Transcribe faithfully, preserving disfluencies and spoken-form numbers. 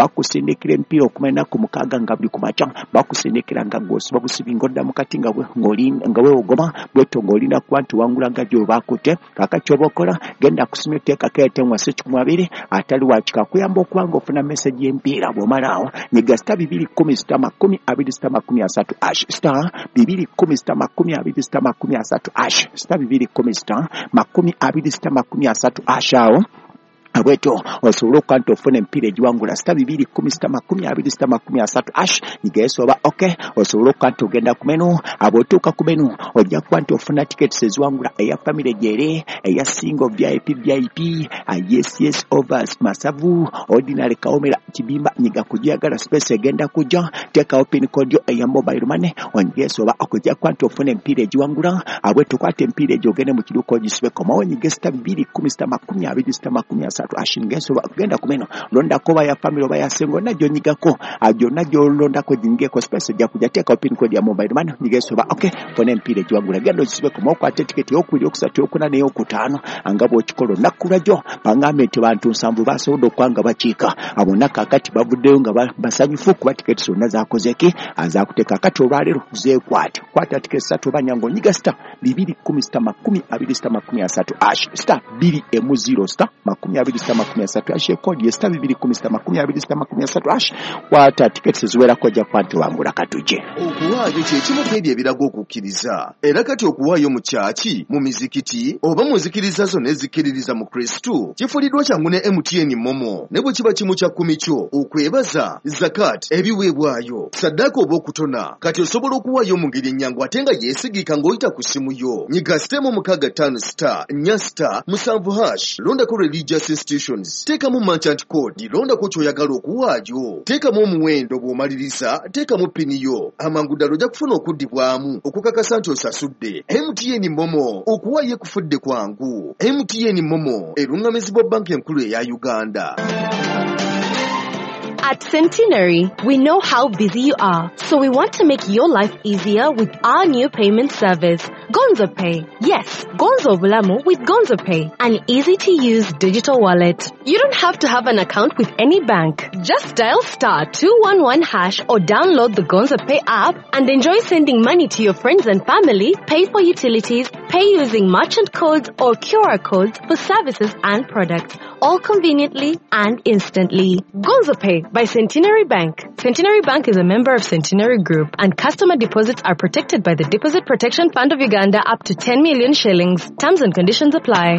Bakusindikira emipiira okumala ennaku mukaaga nga buli ku makya bakusindikira nga gw'osiba busibi ng'odda mu kati nga nga weewogoma bwetyo ng'olina kuba nti wangula nga gy'oba akutte. Kaakati ky'oba okola, genda ku simu, teekako Airtel wasi kikumi abiri atali wakika kuyamba okuba ng'ofuna message y'empiira. Bw'omala awo nyiga star bibiri kumi star makumi abiri star makumi asatu hash, star bibiri kumi star makumi abiri star makumi asatu hash, star bibiri kumi star makumi abiri star makumi asatu hash. Awo bwetyo osobola okuba nti ofuna emipiira egiwangula. Star bibiri kumi star makumi abiri star makumi asatu hash, nyigayeso oba ok, osobola okuba nti ogenda ku menu. Bw'otuuka ku menu ojja kuba nti ofuna tickets eziwangula, eya family gyere, eya single, V I P, V I P, yes yes overs, masavu, ordinary, kawomera, kibimba. Nyiga kugiyagala, space egenda kujja. Teekawo pin code yo eya mobile money, onyigeso oba okujja kuba nti ofuna emipiira egiwangula. Bwetyo kwata emipiira egyo ogende mu kiduuka ogisibeko. Komawo nyige star bibiri kumi star makumi abiri star makumi asatu hash, ngeso genda ku menu, londako oba ya family oba ya single, na gyonyigako gyonna gyolondako ginyigeko, space ejja kujja. Teekawo pin code ya mobile money, nyigeso oba ok, funa emipiira egiwangula, genda ogisibeko, okwata etiketi eyokubiri, okusatu, eyokuna n'eyokutaano nga bw'okikola olunaku lwajjo. Bangambye nti bantu nsanvu basobodde okuba nga bakiika bonna kaakati bavuddeyo nga basanyufu kuba tiketi zonna zakoze ki, zakuteeka. Kati olwaleero zeekwate, kwata tiketi ssatu oba nnya ng'onyiga star bibiri kumi star makumi abiri star makumi asatu hash, star bbiri emu zero star makumi abiri star makumi asatu hash. Ekodi ye star bibiri kumi star makumi abiri star makumi asatu hash. Kwata tiketi ziwerako, ojja kuba nti wangula. Katujje. Okuwaayo kye kimu ku ebyo ebiraga okukkiriza. Era kati okuwaayo mu kyaki, mu mizikiti oba mu nzikiriza zonna ezikkiririza mu Kristu kifuliddwa kyangu ne M T N MoMo. Ne bwe kiba kimu kya kkumi kyo, okwebaza, zakat, ebiweebwayo, saddaaka oba okutona, kati osobola okuwaayo mu ngeri ennyangu ate nga yeesigika ng'oyita ku ssimu yo. Nyiga star emu mukaaga ttaano star nnya star musanvu hash, londako religious institutions, teekamu merchant code, londako ky'oyagala okuwaayo, teekamu omuwendo. Bw'omaliriza teekamu pini yo, amangu ddala ojja kufuna okuddibwamu okukakasa nti osasudde. M T N MoMo, okuwaayo ekufudde kwangu. M T N MoMo eruŋŋamizibwa Banka Enkulu eya Uganda. At Centenary, we know how busy you are, so we want to make your life easier with our new payment service, Gonzo Pay. Yes, Gonzo Bulamu with Gonzo Pay, an easy to use digital wallet. You don't have to have an account with any bank. Just dial star two one one hash or download the Gonzo Pay app and enjoy sending money to your friends and family, pay for utilities, pay using merchant codes or Q R codes for services and products, all conveniently and instantly. Gonzo Pay by Centenary Bank. Centenary Bank is a member of Centenary Group, and customer deposits are protected by the Deposit Protection Fund of Uganda up to ten million shillings. Terms and conditions apply.